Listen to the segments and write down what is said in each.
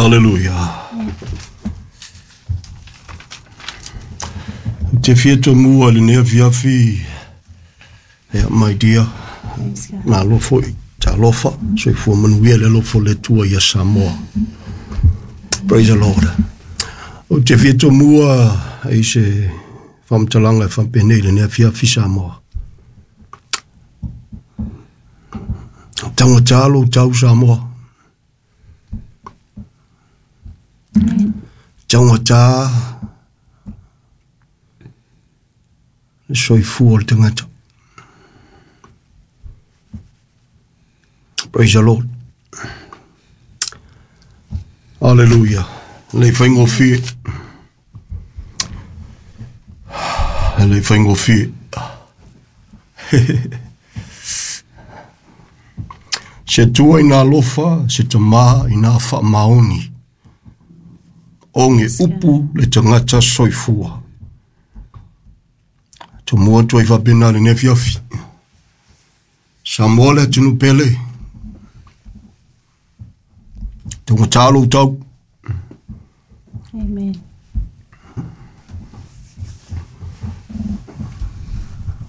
Aleluia. Ou te fia tomua i lenei afiafi, ia, my dear, malo foi, talofa, soifua manuia le alofa o le Atua ia Samoa. Praise the Lord. Ou te fia tomua i se faamatalaga e faapenei i lenei afiafi Samoa. Taugata lou tau Samoa. Taugata le soifua o le tagata. Praise the Lord. Hallelujah. Le faigofie. Le faigofie. Se tua i nā alofa, se tamā i nā whaamaoni. Oge upu le tagata soifua. Tomua atu ai faapena lenei afiafi. Samoa le atunuu pele. Taugata lou tau. Amen.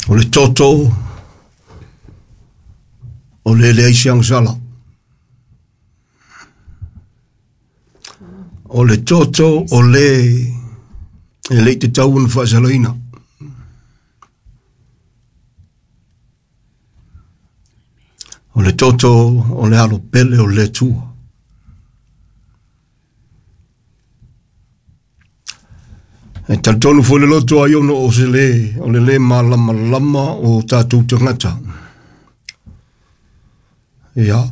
O le toto o le leai se agasala. O le toto o le e le i tatau ona faasalaina. O le toto o le alo pele o le Atua. E talitonu foi le loto ai ona o se le, o le le malamalama o tatou tagata. Ia,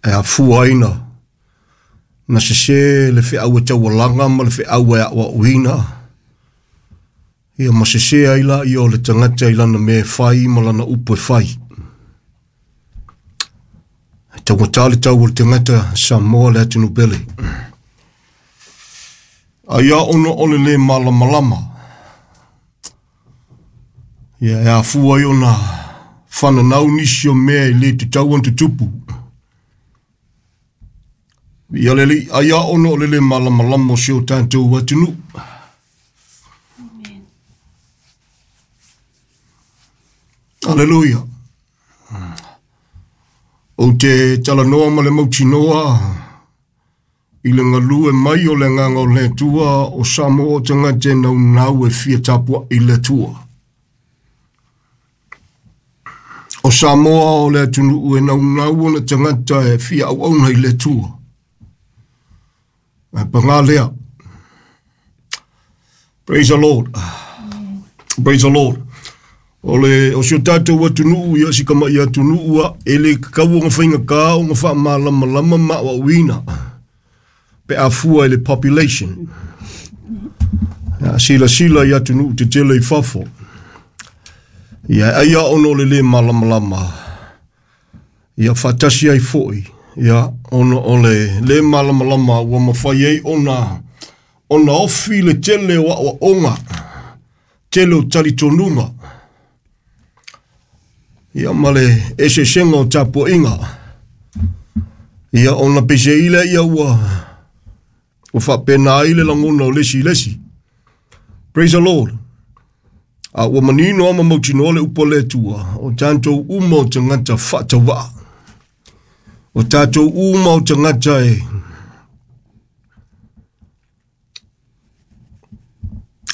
e afua ai na sese le feau e taualaga ma le feau e aoaoina. Ia ma sese ai la ia o le tagata i lana mea e fai ma lana upu e fai. E taugata le tau o le tagata Samoa le atunuu pele. Ai a ona o le le malamalama. Ia e afua ai ona fananau nisi o mea e le tatau ona tutupu. Ia le alii, ai a ona o le le malamalama o si o tatou atunuu. Amen. Aleluia. Ou te talanoa ma le mautinoa i le galue mai o le agaga o le Atua o Samoa o tagata e naunau e fia tapuai i le Atua. O Samoa o le atunuu e naunau ona tagata e fia auauna i le Atua. Ae paga lea. Praise the Lord. Praise the Lord. O le o si o tatou atunuu ia si kama'i atunuu a e le tatau ona faigata ona faamalamalama ma aoaoina pe a fua i le population. Ia, silasila i atunuu tetele i fafo. Ia, ai a ona o le le malamalama. Ia faatasi ai foi, ia, ona o le le malamalama ua mafai ai ona ofi le tele o aoaoga, tele o talitonuga. Ia ma le eseesega o tapuaiga. Ia ona peiseai lea ia ua faapena ai le lagona o le isi i le isi. Praise the Lord. A ua manino ama mautinoa le upu a le Atua, o tatou uma o tagata faatauvaa. O tatou uma o tagata e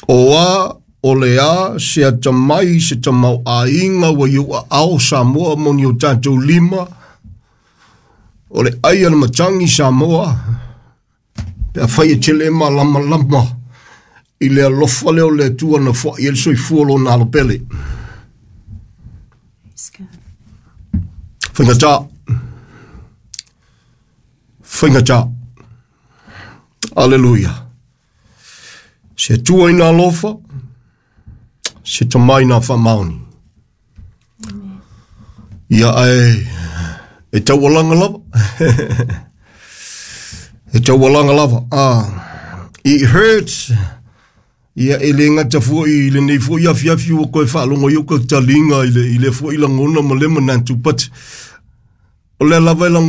o a o le a se atamai se tamaoaiga ua i ou aao Samoa mo ni o tatou lima, o le ai a le matagi Samoa, pe a fai e tele malamalama i le alofa lea o le Atua na foai ai le soifua lona alo pele. Praise God. Faigata. Faigata. Aleluia. Se Atua i nā alofa, se tamai nā faamaoni. Ia ae e taualaga lava. E taualaga lava. It hurts. Ia e le gata foi i lenei foi afiafi ua koe faalogo ai o ka taliga i le foi lagona ma le manatu, but o lea lava e lagona